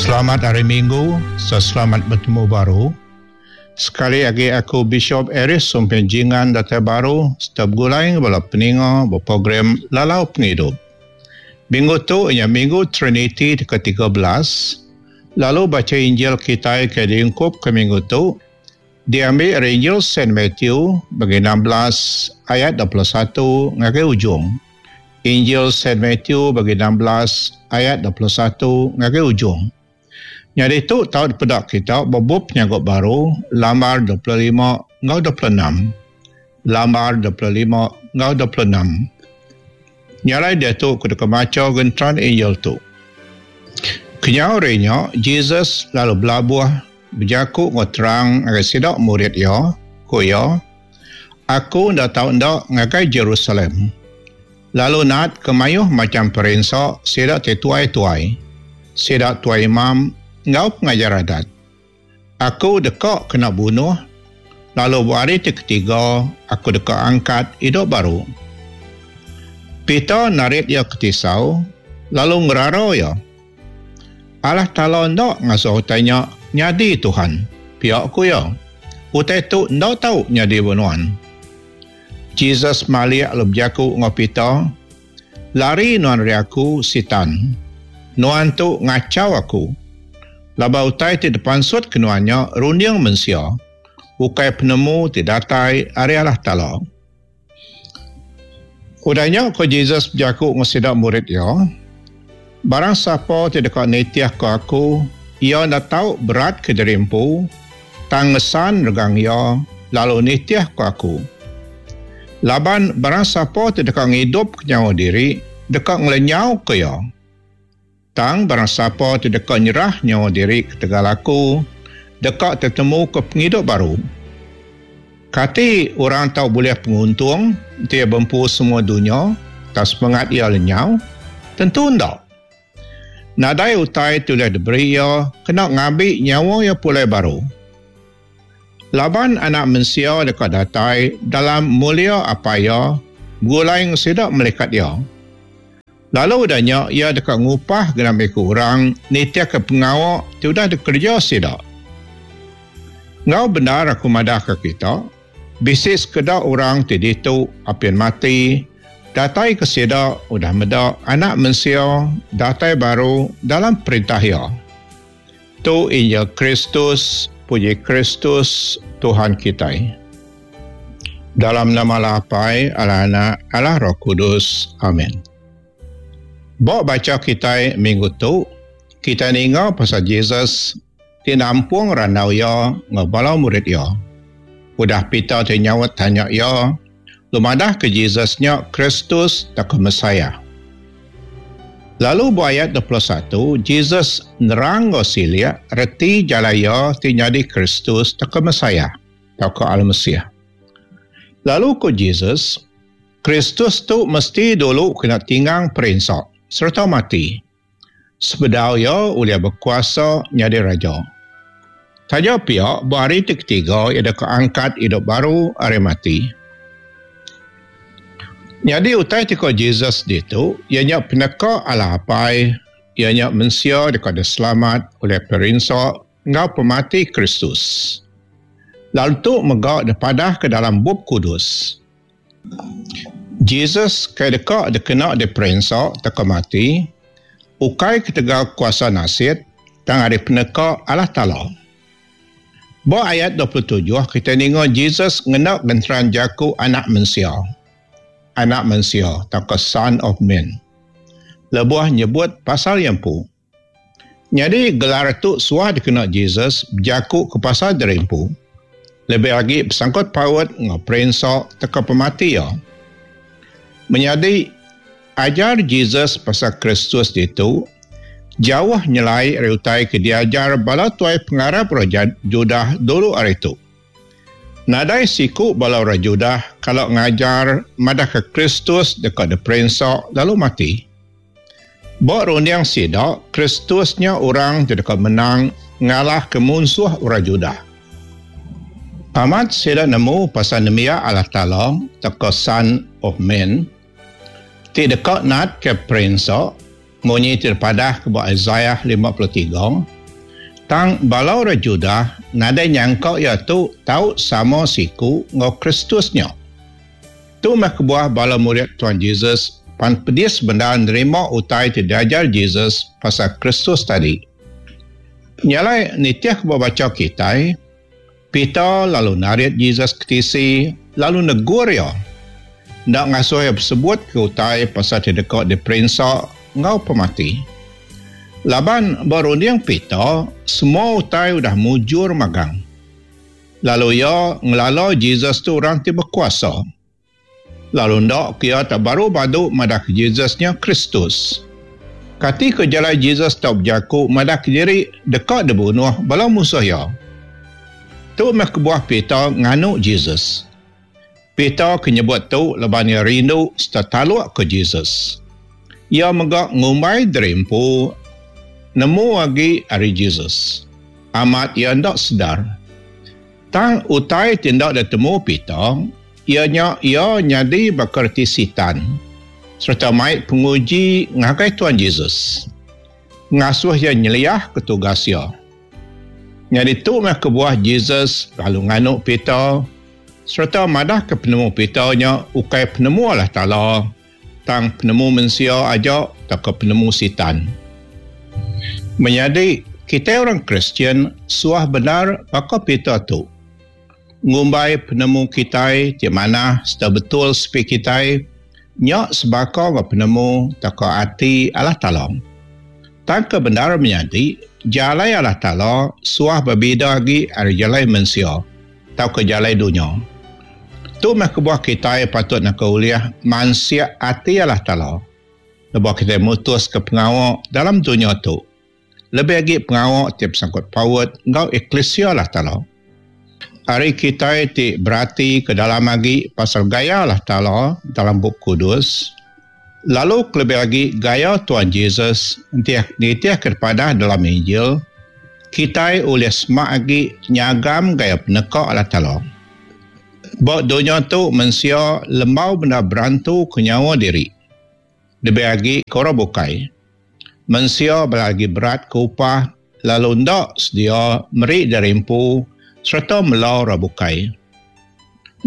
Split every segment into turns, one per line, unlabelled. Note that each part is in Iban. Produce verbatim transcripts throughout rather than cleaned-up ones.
Selamat hari Minggu, selamat betemu baru. Sekali lagi aku Bishop Aris Sumpin Jingan datai baru setiap gulai bala peninga berprogram Lalau Pengidup. Minggu tu ianya Minggu Trinity ke tiga belas. Lalu baca Injil kita ke diungkup ke minggu tu diambil dari Injil Saint Matthew bagi enam belas ayat dua puluh satu ngagai ujung. Injil Saint Matthew bagi enam belas ayat dua puluh satu ngagai ujung. Jadi tu tahu pedak kita bebup penyanggup baru lambar dua puluh lima ngau dua puluh enam. Lambar dua puluh lima ngau dua puluh enam. Nyalai dia tu kudu kemaca gentran Injil tu. Kenyau renya Jesus lalu belabuh berjaku ngau terang ngagai sidak murid ia, ku ia, aku ndak tau ndak ngagai Jerusalem. Lalu nat kemayuh macam perinsa sidak te tuai-tuai, sidak tuai imam ngau pengajar adat. Aku dekak kena bunuh, lalu hari ketiga aku dekak angkat hidup baru. Peter narik ia ke tisau, lalu ngerara ia. Allah Ta'ala ndak ngasuh utainya nyadi Tuhan. Pihak ku ya. Utai tu ndak tahu nyadi bunuan. Jesus maliak lalu berjaku ngau Peter, lari nuan ri aku sitan. Nuan tu ngacau aku. Laba utai ti depansut kenuannya runding mensia. Ukai penemu ti datai ari Allah Ta'ala. Udahnya ko Jesus berjaku ngau sidak murid ia, barang siapa ti dekat nitiah ke aku, ia ndak tahu berat ke diri empu, tang ngesan regang ia, lalu nitiah ke aku. Laban barang siapa ti dekat ngidup ke nyawa diri, dekat ngelenyau ke ia. Tang barang siapa ti dekat nyerah nyawa diri ke tegal aku, dekat tertemu ke penghidup baru. Kati orang tahu boleh penguntung, dia bempu semua dunia, tak semangat ia lenyau, tentu ndak. Nadai utai tu dah diberi ia, kena ngambil nyawa ia pulai baru. Laban anak mensia dekat datai dalam mulia apa ia, gulai ngesidak melekat ia. Lalu udahnya ia dekat ngupah genap iku orang nitiah ke pengawak tu dah dikerja sidak. Ngau benar aku madah ke kita, bisik sekedar orang ti ditu apian mati, datai ke sidak udah medak anak mensia datai baru dalam perintah ia. Tu Injil Kristus, puji Kristus Tuhan kita. Dalam nama Allah Apai, Allah Anak, Allah Roh Kudus. Amin. Bawa baca kita minggu tu, kita ninga pasal Jesus ti nampung randau ia ngau murid ia. Udah Peter ti nyawat tanya ia, lumadah ke Jesusnya Kristus tak ke Messiah. Lalu bu ayat dua puluh satu, Jesus nerang ngau silia reti jalaya ti nyadi Kristus tak ke Messiah, tak ke Al-Mesiah. Lalu ko Jesus, Kristus tu mesti dulu kena tinggang perinsa serta mati. Sebedau ia ulia berkuasa nyadi raja. Taja pihak berhari ketiga ia dah keangkat hidup baru hari mati. Jadi utai tiko Jesus ditu ianya peneka Allah Apai, ianya mensia dekat selamat oleh perinsa ngau pemati Kristus. Lalu tu megak depadah ke dalam bab kudus. Jesus ke dekat dikena di perinsa teka mati, ukai ketegal kuasa nasid tang ari peneka Allah Ta'ala. Ba ayat dua puluh tujuh kita ninga Jesus ngena genteran jaku anak mensia. Anak mensia atau son of man. Lebuh nyebut pasal yang pu. Jadi gelar tu suah dikena Jesus berjaku ke pasal derimpu. Lebih lagi bersangkut paut ngau perinsa teka pemati ya. Menjadi ajar Jesus pasal Kristus itu jauh nyelai reutai ke diajar bala tuai pengarap Raja Judah dulu hari itu. Nadai siku bala Raja Judah kalau ngajar madah ke Kristus dekat de perinsa lalu mati. Bak runding sidak, Kristusnya orang dekat menang ngalah ke musuh orang Judah. Amat sidak nemu pasal nemia Allah Ta'ala teka son of man ti dekat nat ke perinsa munyi terpadah ke buat Isaiah lima puluh tiga. Tang bala orang Judah nadai nyangka ia tu tau sama siku ngau Kristusnya. Tu meh kebuah bala murid Tuhan Jesus pan pedis bendar nerima utai ti diajar Jesus pasal Kristus tadi. Nyalai nitih ke baca kitai, Peter lalu narit Jesus ke tisi lalu negur ia. Ndak ngasuh ia bersebut ke utai pasal ti deka diperinsa ngau pemati. Laban berunding Peter, semua utai udah mujur magang. Lalu ia ngelala Jesus tu orang ti berkuasa. Lalu ndak kia tak baru badu madah ke Jesusnya Kristus. Kati ke jalan Jesus tak berjaku madah ke diri dekat dibunuh bala musuh ia. Tu meh kebuah Peter nganu Jesus. Peter ke nyebut tu leban ia rindu serta taluk ke Jesus. Ia megak ngumbai derimpu nemu agi ari Jesus. Amat ia ndak sedar. Tang utai tindak ditemu Peter, ia nya ia nyadi bakerti sitan serta mai penguji ngagai Tuhan Jesus. Ngasuh ia nyeliah ke tugas ia. Nyadi tu meh kebuah Jesus lalu nganu Peter serta madah ke penemu Peter nya ukai penemu Allah Taala, tang penemu mensia aja tak ke penemu sitan. Menyadi kita orang Kristian suah benar baka Peter tu. Ngumbai penemu kitai ti manah serta betul sepi kitai nya sebaka ngau penemu taka ati Allah Taala. Tang ke benar menyadi jalai Allah Taala suah berbeza agi ari jalai mensia tau ke jalai dunia. Tu meh kebuah kitai patut nak uliah mansia ati Allah Taala. Lebuh kita mutus ke pengawa dalam dunia tu. Lebih lagi pengawa tiap sangkut paut ngau eklesia Allah Taala. Hari kita ti berarti ke dalam lagi pasal gaya Allah Taala dalam Bup Kudus, lalu lebih lagi gaya Tuhan Jesus nitiah kepada dalam Injil, kita oleh semak lagi nyagam gaya penekak Allah Taala. Bak dunia tu mensia lembau benda berantu ke nyawa diri. Lebih lagi korang bukai. Mensia berlagi berat ke upah lalu ndak sedia meri dari empu serta melau rabukai.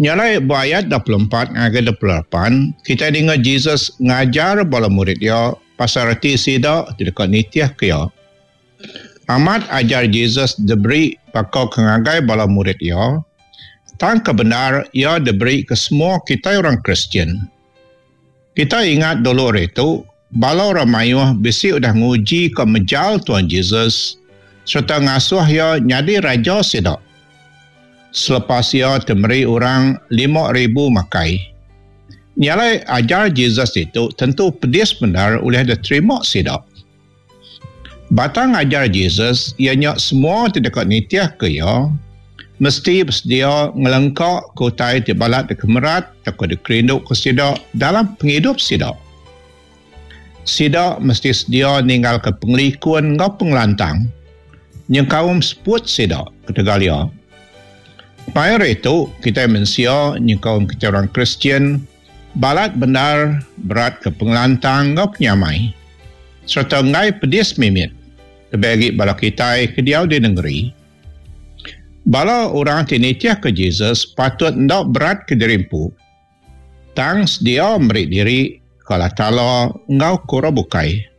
Nyalai ayat dua puluh empat hingga dua puluh lapan, kita dengar Jesus ngajar bala murid dia pasal reti sida dekat nitiah ke ia. Amat ajar Jesus diberi pakau kengagai bala murid ia, tang kebenar ia diberi ke semua kita orang Kristian. Kita ingat dulu hari itu, bala orang mayuh bisi udah nguji ke mejal Tuhan Jesus serta ngasuh ia nyadi raja sida. Selepas ia temeri orang lima ribu makai. Nyalai ajar Jesus itu tentu pedis benar oleh diterima sida. Batang ajar Jesus ianya semua tidak nitiah ke ia mesti bersedia ngelengkak ke utai ti balat de kemerat atau dikerinduk ke sida dalam penghidup sida. Sida mesti sedia ninggal ke pengelikun ngau pengelantang. Nyengkaum seput sida ketegal ia. Pada itu, kita mensia, nyengkaum kita orang Kristian, balat benar berat ke pengelantang ngau penyamai. Serta ngai pedis mimit, lebih lagi bala kita ke diau di negeri. Bala orang ti nitiah ke Jesus patut ndak berat ke dirimpu. Tang sedia meri diri ke Allah Taala ngau kura bukai.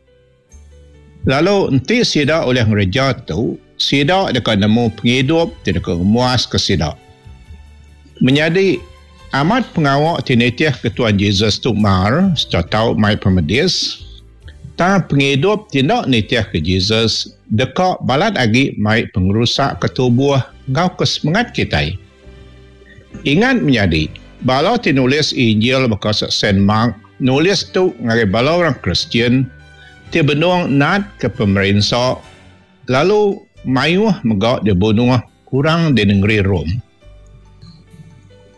Lalu enti sida oleh ngereja tu, sida dekat nemu penghidup ti dekat muas ke sida. Menyadi amat pengawak ti nitiah ke Tuhan Jesus tu mar serta tau mai pemedis, tang penghidup ti nak nitiah ke Jesus dekat balat agi mai pengerusak ke tubuh ngau ke semangat kita. Ingat menyadi, bala ti nulis Injil bekas Saint Mark nulis tu ngagai bala orang Kristian ti benung nat ke pemerintah lalu mayuh megak dibunuh kurang di negeri Rom.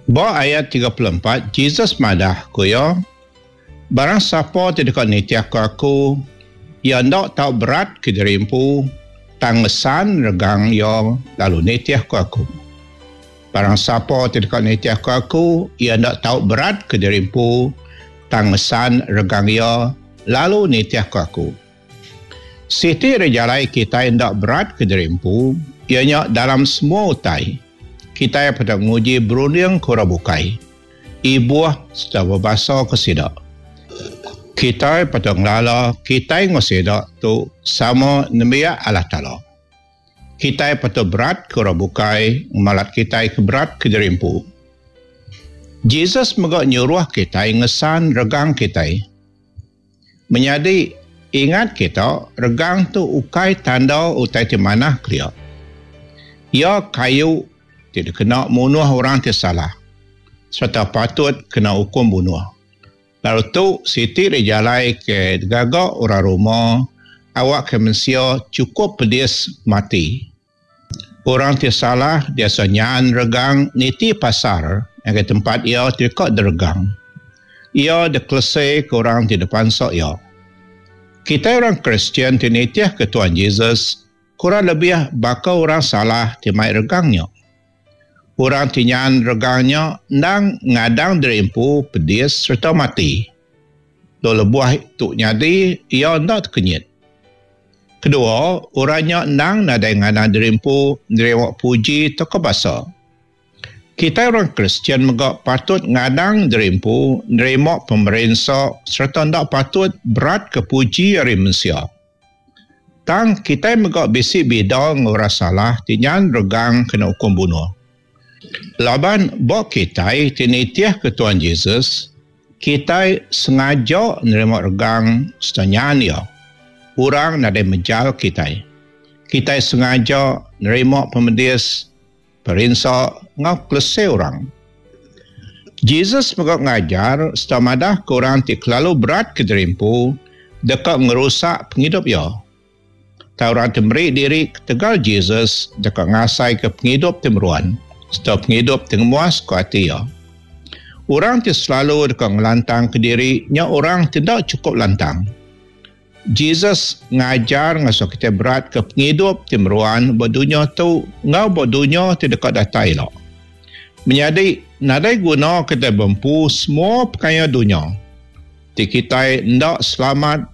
Ba ayat tiga puluh empat, Jesus madah ku ia, barang siapa ti dekat nitiah ke aku, ia ndak tau berat ke diri empu, tang ngesan regang ia lalu nitiah ke aku. Barang siapa ti dekat nitiah ke aku, ia ndak tau berat ke diri empu, tang ngesan regang ia lalu nitiah ke aku. Siti ari jalai kitai enda berat ke diri empu iya nya dalam semua utai, kitai patut nguji berunding ke orang bukai, ibuh sereta bebasa ke sida. Kitai patut ngelala kitai enggau sida tu sama nembiak Allah Taala. Kitai patut berat ke orang bukai ngemalat kitai ke berat ke diri empu. Jesus mega nyuruh kitai ngesan regang kitai. Menyadi, ingat kita, regang tu ukai tanda utai ti manah kelia. Iya kayu ti dikena munuh orang ti salah sereta patut kena ukum bunuh. Lalu tu siti ari jalai ke digaga orang Roma awakka mensia chukup pedis mati. Orang ti salah diasuh nyan regang niti pasar ngagai tempat iya ti deka diregang. Iya dikeleseka orang ti dipansa iya. Kitai orang Kristian ti nitihka Tuan Jesus kurang lebih baka orang salah ti mai regang nya. Orang ti nyan regang nya endang ngadang diri empu pedis sereta mati. Lalu lebuh tu nyadi, iya enda tekenyit. Kedua, orang nya endang nadai ngadang diri empu nerima puji tauka basa. Kitai orang Kristian mega patut ngadang diri empu nerima pemerinsa sereta enda patut beratka puji ari mensia. Tang kitai mega bisi bida enggau orang salah ti nyan regang kena ukum bunuh. Laban ba kitai ti nitihka Tuan Jesus, kitai sengaja nerima regang sereta nyan iya. Orang nadai mejal kitai. Kitai sengaja nerima pemedis, perinsa enggau kelese orang. Jesus mega ngajar sereta madahka orang ti kelalu berat ke diri empu deka ngerusak pengidup iya. Tang orang ti meri diri ketegal Jesus deka ngasaika pengidup ti meruan sereta pengidup ti ngemuaska ati iya. Orang ti selalu deka ngelantangka diri nya orang ti enda chukup lantang. Jesus ngajar ngasuh kitai beratka pengidup ti meruan ba dunya tu enggau ba dunya ti deka datai ila. Menyadi, nadai guna kitai bempu semua pekaya dunya ti kitai enda selamat